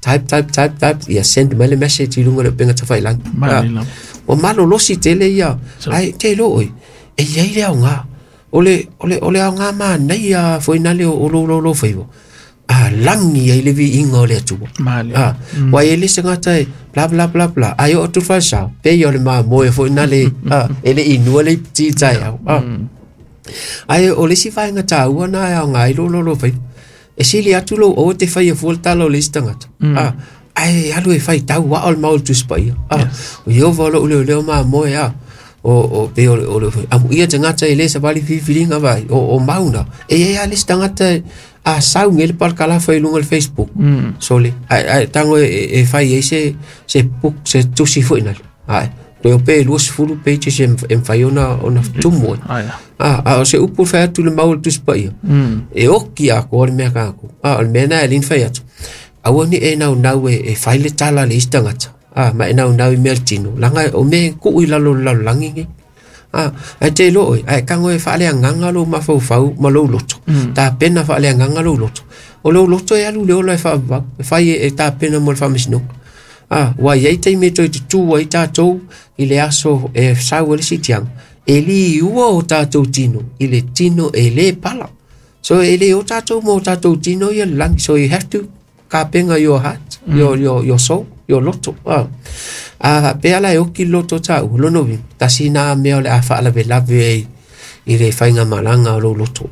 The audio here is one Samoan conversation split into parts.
Type, type, type, type, ia send mai le message i luga o le upega tafailagi. Manaia lava. Ua malolosi tele ia, ae te iloa oe, e i ai le aoga. O le, o le, o le aoga manaia foi na le o lou laulau faiva, a lagi ai le viiga o le Atua. Malia. Ua i ai le isi tagata e bla bla bla bla, ae oo atu le falesa, pei o le mamoe foi na le, e le inua le iputi i taeao. Ae o le isi vaega taua na e aoga ai lou laulau faiva, e sili atu lou aua te faia fua le tala o le isi tagata. Ae alu e faitau ao le mau o le Tusi Paia. O Ieova o lou leoleo mamoe, o pei o le amuia tagata e le savali filifiliga vai, o mau na. E i ai lava le isi tagata a sau nei le palakalafa i luga o le Facebook. Sole, ae tago e fai ai se book, se tusi foi nale. Ae, toe o pe 20 pages e mafai ona tumu ai. Aia. A o se upu fai atu le mau o le Tusi Paia. E oki atoa le mea kākou. O le mea na e lini fai atu. Aua ni e naunau e fai le tala a le isi tagata. Ma e naunau i mea le tino. Laga o mea e tuu i lalo o le lalolagi nei. Ae te iloa oe, ae tago e faaleagaga lou mafaufau ma lou loto. Tapena faaleagaga lou loto. O lou loto e alu le ola e faavavau. E fai e tapena mo le faamasinoga. Ua i ai taimi e toe tutū ai tatou i le aso e sau ai le siitiaga. E liua o tatou tino i le tino e le pala. So e le o tatou mo tatou tino ia le lagi. So you have to kapena your heart, your soul, your loto. Pe ala e oki le loto tau, lono uiga, tasi na mea o le a faalavelave ai i le faiga malaga o lou loto.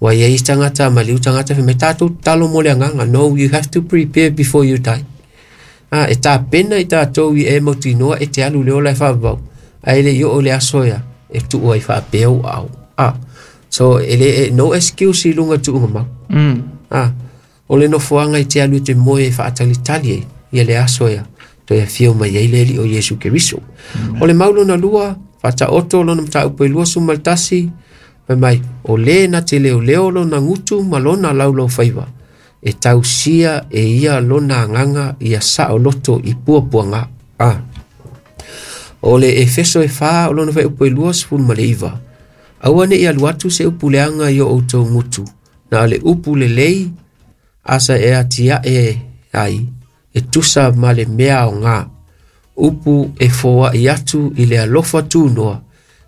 Ua i ai tagata maliu tagata fai mai tatou tatalo mo le agaga. No, you have to prepare before you die. E tapena i tatou i e mautinoa e te alu le ola e faavavau. Ae le i oo le aso ia, e tuu ai faapea ou aao. So e le, no excuse i luga tuuga mau. O le nofoaga i te alu e te moe e faatalitali ai ia le aso ia toe afio mai ai le Alii o Iesu Keriso. O le mau lona lua, faataoto lona mataupu e 21, fai mai, o le na te leoleo lona gutu ma lona laulau faiva, e tausia e ia lona agaga ia saoloto i puapuaga. O le Efeso e 4 o lona fuaiupu e 29, aua ne i alu atu se upu leaga i o outou gutu, na o le upu lelei asa e atiae ai, e tusa ma le mea aoga, upu e foai atu i le alofa tunoa,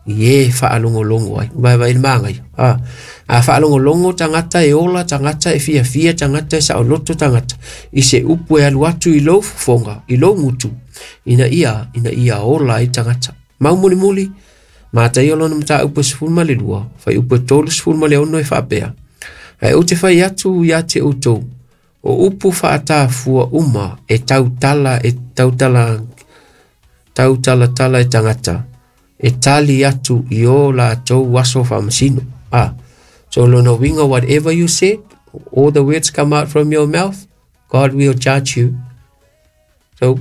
i e faalogologo ai. Vaevae le magaia. A faalogologo tagata e ola, tagata e fiafia, tagata e saoloto tagata, i se upu e alu atu i lou fofoga, i lou gutu, ina ia ola ai tagata. Mau mulimuli, Mataio lona mataupu e 12, fuaiupu e 36 e faapea. Ae ou te fai atu ia te outou, o upu faatafua uma e tautala e tautala tautalatala e tagata, e tali atu i o latou aso faamasino. So lona uiga, whatever you said, all the words come out from your mouth, God will judge you. So,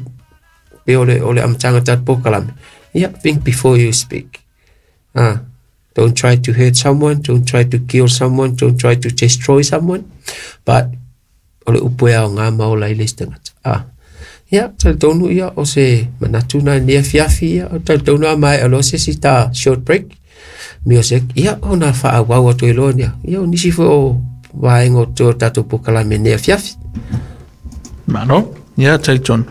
pe o le amataga tatou polokalame. Yeah, think before you speak. Don't try to hurt someone, don't try to kill someone, don't try to destroy someone, but o le upu e aoga ma ola ai le isi tagata. Ia, talitonu ia o se manatu na ni afiafi ia, o talitonu a mai alo se si ta short break. Music, ia ona faaauau atu ai loa nia. Ia o nisi foi o vaega o te tatou polokalame nei afiafi. Malo, ia talitonu.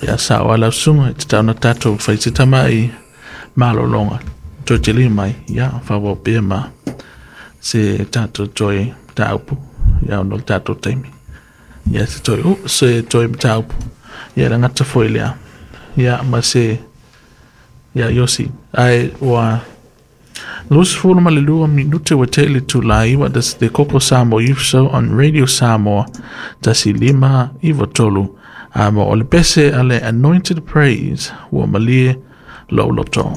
Ia sa o ala usuga e tatau ona tatou fai se tama'i malologa. Toe tele mai, ia faaauau pea ma se tatou toe mataupu, ia ona o le tatou taimi. Ia se toe, se toe mataupu. Ia le gata foi lea. Ia ma se, ia Iosi. Ae ua 22 minute ua tea i le itula e 9. That's the Koko Samoa Youth Show on Radio Samoa 1.593. A mo o le pese a le Anointed Praise, ua malie lou loto.